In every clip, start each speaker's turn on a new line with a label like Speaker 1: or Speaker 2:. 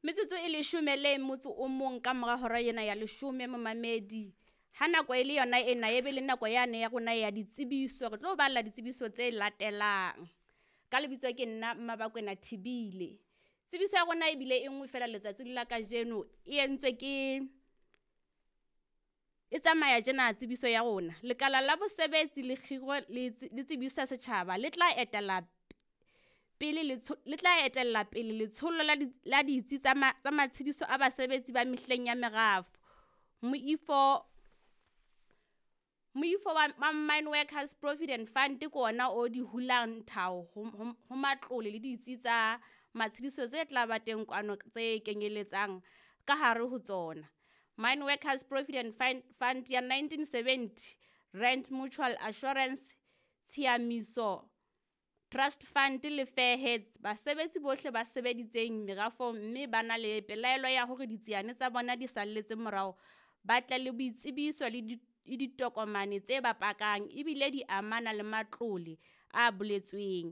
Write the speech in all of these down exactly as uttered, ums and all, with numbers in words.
Speaker 1: Metsotso e leshome le motso o mong ka mora hora ena ya leshome momamedi. Ha nako e le yona ena e be le nako yane ya rona ya ditsebiso, re tlo balla ditsebiso tse latelang. Ka lebitso ke nna Mmabakwena Thibile. Tsebiso ya rona ebile e nngwe fela letsatsing la kajeno e entswe ke e tsamaya tjena tsebiso ya rona. Lekala la bosebetsi le kgiro le le tsebisa setjhaba le tla etela pele le tla etella pele letsholo la la ditsi tsa tsa matshidiso a basebetsi ba mehleng ya merafo. Moifo Moifo wa Mine Workers Provident Fund ke ona o di hulang thao ho matlole le ditsi tsa matshidiso tse tla ba teng kwano tse kenyeletsang ka hare ho tsona. Mine Workers Provident Fund ya nineteen seventy, Rand Mutual Assurance, Tshiamiso Trust Fund le Fair Heads. Basebetsi bohle ba sebeditseng merafong mme ba na le pelaelo ya hore ditsiane tsa bona di salletse morao, ba tle le boitsebiso le di ditokomane tse ba pakang ebile di amana le matlole a boletsweng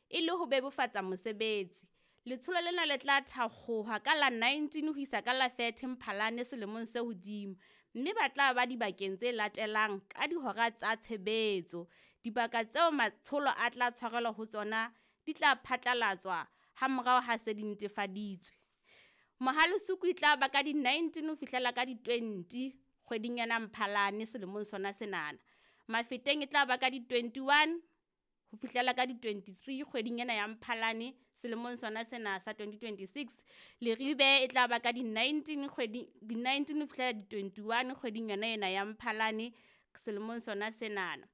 Speaker 1: e le ho bebofatsa mosebetsi. Letsholo lena le tla thakgoha ka la nineteen ho isa ka la thirty Mphalane selemong se hodimo, mme ba tla ba dibakeng tse latelang ka dihora tsa tshebetso. Dibaka tseo matsholo a tla tshwarelwa ho tsona di tla phatlalatswa ha morao ha se di netefaditswe. Mohale'Soku e tla ba ka di nineteen ho fihlela ka di twenty kgweding ena Mphalane selemong sona senana. Mafeteng e tla ba ka di twenty-one ho fihlela ka di twenty-three kgweding ena ya Mphalane selemong sona sena sa twenty twenty-six. Leribe e tla ba ka di nineteen kgwedi di nineteen ho fihlela di twenty-one kgweding yona ena ya Mphalane selemong sona senana.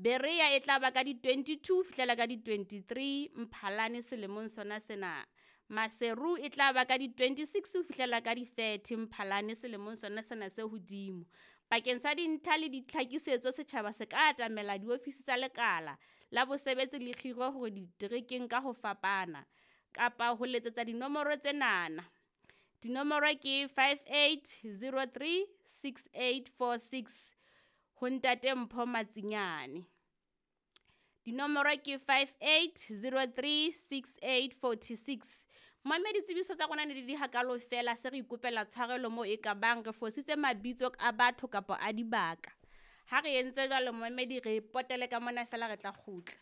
Speaker 1: Berea e tla ba ka di twenty-two ho fihlela ka di twenty-three Mphalane selemong sona sena. Maseru e tla ba ka di twenty-six ho fihlela ka di thirty Mphalane selemong sona sena se hodimo. Bakeng sa dintlha le ditlhakisetso setjhaba se ka atamela diofisi tsa lekala la bosebetsi le kgiro hore diterekeng ka ho fapana kapa ho letsetsa dinomoro tsenana. Dinomoro ke five eight zero three six eight four six ho Ntate Mpho Matsinyane. Dinomoro ke five eight zero three six eight forty-six. Mamedi tsebiso tsa rona ne di di hakalo fela, se re ikopela tshwarelo mo e ka bang re fositse mabitso a batho kapa a dibaka. Ha re entse jwalo momamedi re potele ka mona fela re tla kgutla.